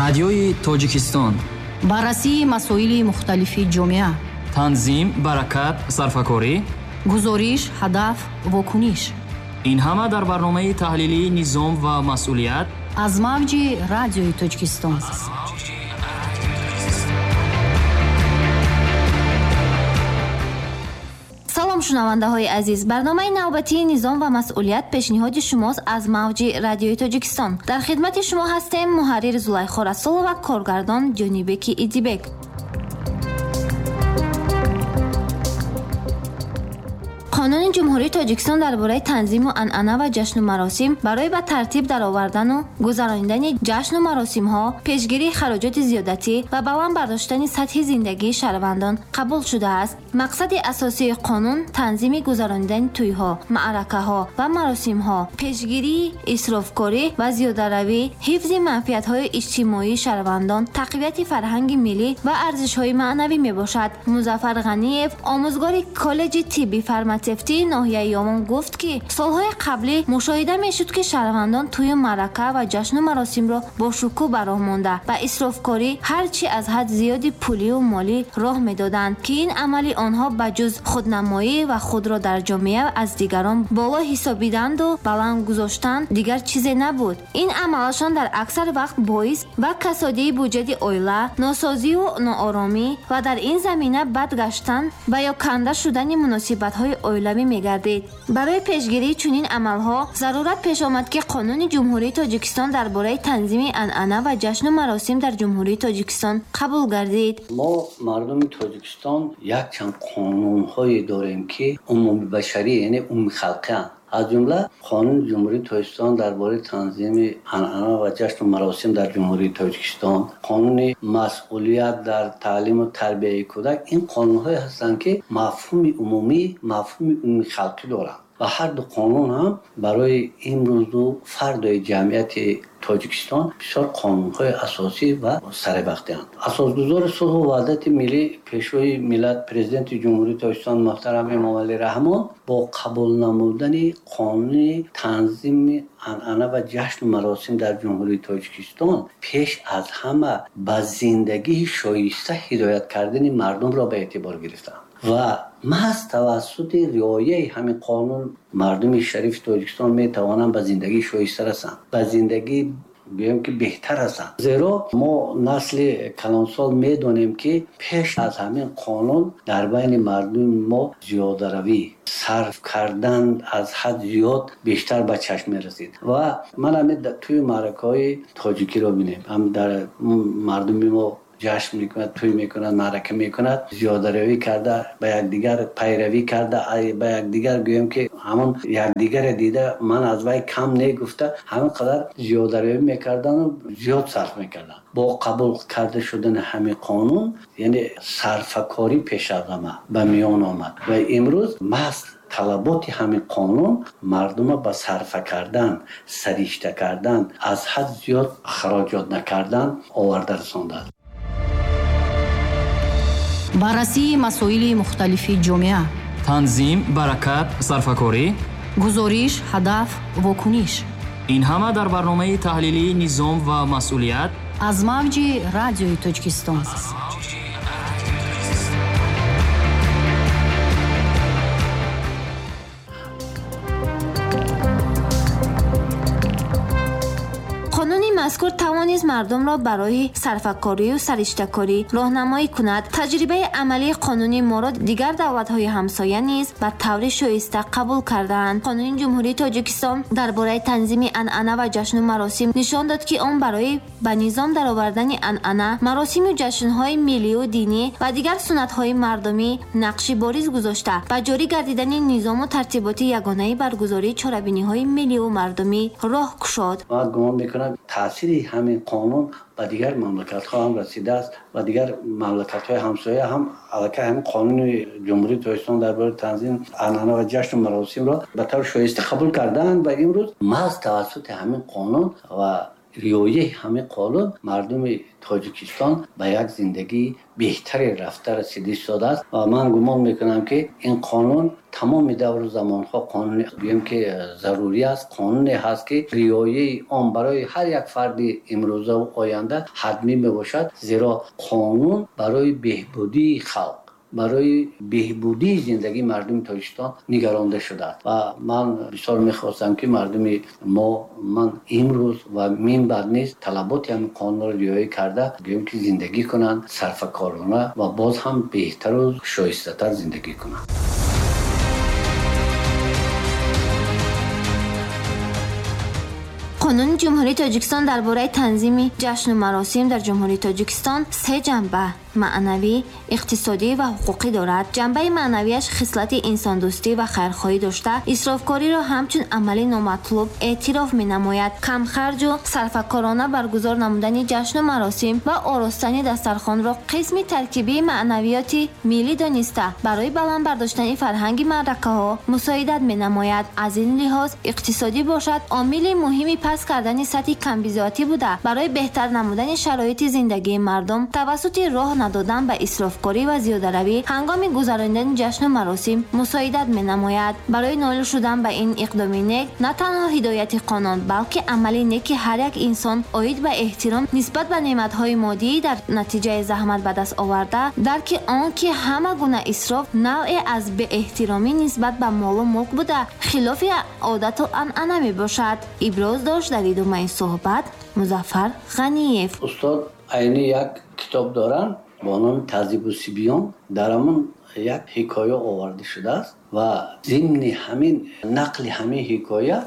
Радиои Тоҷикистон. Баррасии масоили мухталифи ҷомеа. Танзим, баракат, сарфакорӣ. Гузориш, ҳадаф, вокуниш. Ин ҳама дар барномаи таҳлилии «Низом ва масъулият» аз мавҷи Радиои Тоҷикистон. Салом, шунавандаҳои азиз! Барномаи навбатии «Низом ва масъулият» пешниҳоди шумост аз мавҷи Радиои Тоҷикистон. Дар хидмати шумо ҳастем муҳаррир Зулайхо Расулова, коргардон Ҷонибеки Идибек. Қонуни Ҷумҳурии Тоҷикистон дар бораи танзиму анъана ва ҷашну маросим барои ба тартиб даровардану гузаронидани ҷашну маросимҳо, пешгирии хароҷоти зиёдатӣ ва баланд бардоштани сатҳи зиндагии шаҳрвандон қабул шудааст. Мақсади асосии қонун танзими гузаронидани тӯйҳо, маъракаҳо ва маросимҳо, пешгирии исрофкорӣ ва зиёдаравӣ, ҳифзи манфиатҳои иҷтимоии шаҳрвандон, тақвияти фарҳанги миллӣ ва арзишҳои маънавӣ мебошад. Музаффар Ғаниев, омӯзгори коллеҷи тибби фарматсевтии ноҳияи Ёвон, гуфт, ки солҳои қаблӣ мушоҳида мешуд, ки шаҳрвандон тӯю маърака ва ҷашну маросимро бо шукӯҳ ба роҳ монда, ба исрофкорӣ ҳарчи аз ҳад зиёди пулию молӣ роҳ медоданд, ки ин амали онҳо ба ҷуз худнамоӣ ва худро дар ҷомеа аз дигарон боло ҳисобиданду баланд гузоштан дигар чизе набуд. Ин амалашон дар аксар вақт боис ба касодии буҷети оила, носозию нооромӣ ва дар ин замина бад гаштан ва ё канда шудани муносибатҳои оилавӣ мегардид. Барои пешгирии чунин амалҳо зарурат пеш омад, ки Қонуни Ҷумҳурии Тоҷикистон дар бораи танзими анъана ва ҷашну маросим дар Ҷумҳурии Тоҷикистон қабул гардид. Мо, мардуми Тоҷикистон, якчанд қонунҳое дорем, ки умумибашарӣ, яъне умумихалқианд. Аз ҷумла Қонуни Ҷумҳурии Тоҷикистон дар бораи танзими анъана ва ҷашну маросим дар Ҷумҳурии Тоҷикистон, қонуни масъулият дар таълиму тарбияи кӯдак. Ин қонунҳое ҳастанд, ки мафҳуми умумӣ, мафҳуми умумихалқӣ доранд ва ҳар ду қонун ҳам барои имрӯзу фардои ҷамъияти Тоҷикистон бисёр қонунҳои асосӣ ва саривақтианд. Асосгузори сулҳу ваҳдати миллӣ, Пешвои миллат, Президенти Ҷумҳурии Тоҷикистон муҳтарам Эмомалӣ Раҳмон бо қабул намудани қонуни танзими анъана ва ҷашну маросим дар Ҷумҳурии Тоҷикистон пеш аз ҳама ба зиндагии шоиста ҳидоят кардани мардумро ба эътибор гирифтанд ва маҳз тавассути риояи ҳамин қонун мардуми шарифи Тоҷикистон метавонанд ба зиндагии шоиста расанд, ба зиндагии, гӯем ки, беҳтар ҳастанд. Зеро мо, насли калонсол, медонем, ки пеш аз ҳамин қонун дар байни мардуми мо зиёдаравӣ, сарф кардан аз ҳад зиёд бештар ба чашм мерасид. Ва ман ҳамин тӯи маъракаҳои тоҷикиро бинем, ҳам дар мардуми мо ҷашн мекунад, тӯй мекунад, маърака мекунад, зиёдаравӣ карда, ба якдигар пайравӣ карда, ба якдигар, гӯем ки, ҳамон якдигаре дида, ман аз вай кам не гуфта, ҳамин қадар зиёдаравӣ мекардану зиёд сарф мекарданд. Бо қабул карда шудани ҳамин қонун, яъне сарфакорӣ пеш аз ҳама ба миён омад ва имрӯз маҳз талаботи ҳамин қонун мардума ба сарфа кардан, саришта кардан, аз ҳад зиёд хароҷот накардан оварда расондааст. Баррасии масоили мухталифи ҷомеа. Танзим, баракат, сарфакорӣ. Гузориш, ҳадаф, вокуниш. Ин ҳама дар барномаи таҳлилии «Низом ва масъулият» аз мавҷи Радиои Тоҷикистон. Қонуни мазкур тавонист мардумро барои сарфакорию сариштакорӣ роҳнамоӣ кунад. Таҷрибаи амалии қонуни моро дигар давлатҳои ҳамсоя низ ба таври шоиста қабул кардаанд. Қонуни Ҷумҳурии Тоҷикистон дар бораи танзими анъана ва ҷашну маросим нишон дод, ки он барои ба низом даровардани анъана, маросиму ҷашнҳои миллию динӣ ва дигар суннатҳои мардумӣ нақши бориз гузошта, ба ҷорӣ гардидани низому тартиботи ягонаи баргузории чорабиниҳои миллию мардумӣ роҳ кушод. Ман гумон мекунам, таъсири ҳамин қонун ба дигар мамлакатҳо ҳам расидааст ва дигар мамлакатҳои ҳамсоя ҳам аллакай ҳамин Қонуни Ҷумҳурии Тоҷикистон дар бораи танзим анъана ва ҷашну маросимро ба таври шоиста қабул кардаанд ва имрӯз маҳз тавассути ҳамин қонун ва риояи ҳамин қонун мардуми Тоҷикистон ба як зиндагии беҳтаре рафта расида истодааст. Ва ман гумон мекунам, ки ин қонун тамоми давру замонҳо қонуни гӯем ки зарурӣ аст, қонуне ҳаст, ки риояи он барои ҳар як фарди имрӯзаву оянда ҳатмӣ мебошад, зеро қонун барои беҳбудии халқ, барои беҳбудии зиндагии мардуми Тоҷикистон нигаронда шудааст. Ва ман бисёр мехостам, ки мардуми мо ман имрӯз ва минбаъд низ талаботи ҳамин қонунро риоя карда, гӯем ки зиндагӣ кунанд сарфакорона ва боз ҳам беҳтару шоистатар зиндагӣ кунанд. Қонуни Ҷумҳурии Тоҷикистон дар бораи танзими ҷашну маросим дар Ҷумҳурии Тоҷикистон се ҷанба: маънавӣ, иқтисодӣ ва ҳуқуқӣ дорад. Ҷанбаи маънавиаш хислати инсондӯстӣ ва хайрхоҳӣ дошта, исрофкориро ҳамчун амали номатлуб эътироф менамояд. Камхарҷу сарфакорона баргузор намудани ҷашну маросим ва оростани дастархонро қисми таркибии маънавиёти миллӣ дониста, барои баланд бардоштани фарҳанги маъракаҳо мусоидат менамояд. Аз ин лиҳоз иқтисодӣ бошад, омили муҳими паст кардани сатҳи камбизоатӣ буда, барои беҳтар намудани шароити зиндагии мардум тавассути роҳ надодан ба исрофкорӣ ва зиёдаравӣ ҳангоми гузаронидани ҷашну маросим мусоидат менамояд. Барои ноил шудан ба ин иқдоми нек на танҳо ҳидояти қонун, балки амали неки ҳар як инсон оид ба эҳтиром нисбат ба неъматҳои моддӣ дар натиҷаи заҳмат ба даст оварда, дарки он ки ҳама гуна исроф навъе аз беэҳтиромӣ нисбат ба молу мулк буда, хилофи одату анъана мебошад. Иброз дошт дар идомаи суҳбат Музаффар Ғаниев. Устод Айнӣ як китоб доранд бо номи Таҳзибу сибиён. Дар ҳамон як ҳикоя оварда шудааст ва зимни ҳамин нақли ҳамин ҳикоя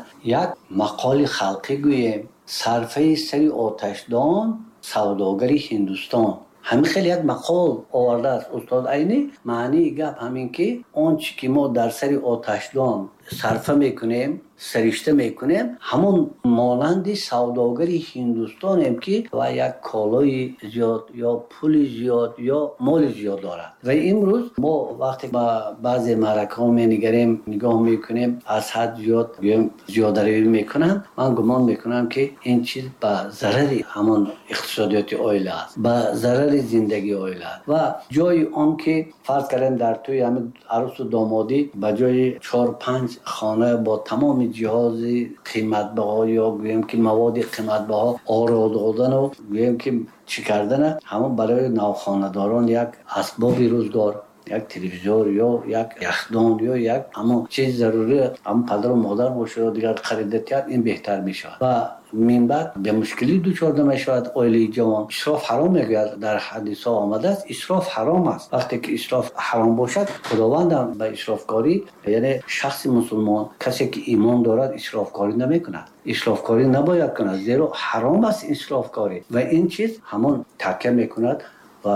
як мақоли халқӣ гӯем: сарфаи сари оташдон, савдогари Ҳиндустон. Ҳамин хел як мақол овардааст устод Айнӣ. Маънии гап ҳамин ки он чӣ ки мо дар сари оташдон сарфа мекунем, саришта мекунем, ҳамон монанди савдогари Ҳиндустонем, ки ва як колои зиёд ё пули зиёд ё моли зиёд дорад. Ва имрӯз мо вақте ба баъзе маъракаҳо менигарем, нигоҳ мекунем, аз ҳад зиёд гӯем зиёдаравӣ мекунанд, ман гумон мекунам, ки ин чиз ба зарари ҳамон иқтисодиёти оила аст, ба зарари зиндагии оила аст. Ва ҷои он ки фарз кардем дар тӯи ҳамин арӯсу домодӣ ба ҷои 4-5 хона бо тамоми ҷиҳози қиматбаҳо ё гӯем ки маводи қиматбаҳо оро додану гӯем ки чӣ кардана, ҳамон барои навхонадорон як асбоби рӯзгор, як телевизор ё як яхдон ё як ҳамон чизи зарурӣ ҳамон падару модар бошад ё дигар харида тиҳад, ин беҳтар мешавад ва минбаъд ба мушкилӣ дучор намешавад оилаи ҷавон. Исроф ҳаром мегӯяд, дар ҳадисҳо омадааст, исроф ҳаром аст. Вақте ки исроф ҳаром бошад, Худованд ҳам ба исрофкорӣ, яъне шахси мусулмон, касе ки имон дорад, исрофкорӣ намекунад, исрофкорӣ набояд кунад, зеро ҳаром аст исрофкорӣ. Ва ин чиз ҳамон такя мекунад ва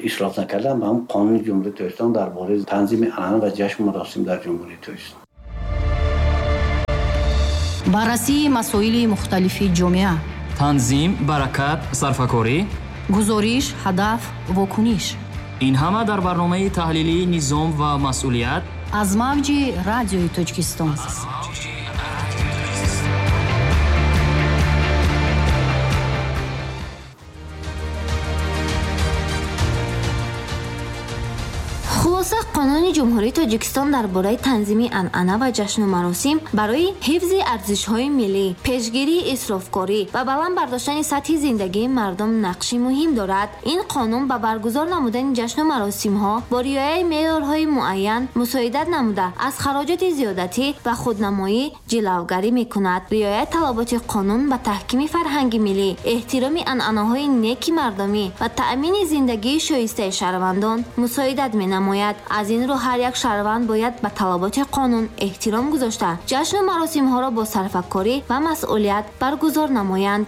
исроф накардан ба ҳам қонуни Ҷумҳурии Тоҷикистон дар бораи танзими анъана ва ҷашну маросим дар Ҷумҳурии Тоҷикистон. Баррасии масоили мухталифи ҷомеа, танзим, баракат, сарфакорӣ, гузориш, ҳадаф, вокуниш. Ин ҳама дар барномаи таҳлилии низом ва масъулият аз мавҷи Радиои Тоҷикистон. Хулоса, Қонуни Ҷумҳурии Тоҷикистон дар бораи танзими анъана ва ҷашну маросим барои ҳифзи арзишҳои миллӣ, пешгирии исрофкорӣ ва баланд бардоштани сатҳи зиндагии мардум нақши муҳим дорад. Ин қонун ба баргузор намудани ҷашну маросимҳо бо риояи меъёрҳои муайян мусоидат намуда, аз хароҷоти зиёдатӣ ва худнамоӣ ҷилавгарӣ мекунад. Риояи талаботи қонун ба таҳкими фарҳанги миллӣ, эҳтироми анъанаҳои неки мардумӣ ва таъмини зиндагии шоистаи шаҳрвандон мусоидат менамояд. Аз ин рӯ ҳар як шаҳрванд бояд ба талаботи қонун эҳтиром гузошта, ҷашну маросимҳоро бо сарфакорӣ ва масъулият баргузор намоянд.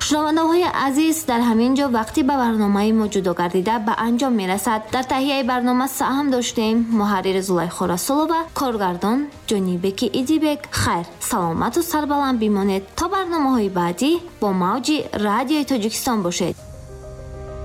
Шунавандаҳои азиз, дар ҳамин ҷо вақти ба барномаи мо ҷудо гардида ба анҷом мерасад. Дар таҳияи барнома саҳм доштем муҳаррир Зулайхо Расулова, коргардон Ҷонибеки Идибек. Хайр, саломату сарбаланд бимонед то барномаҳои баъдӣ бо мавҷи Радиои Тоҷикистон бошед.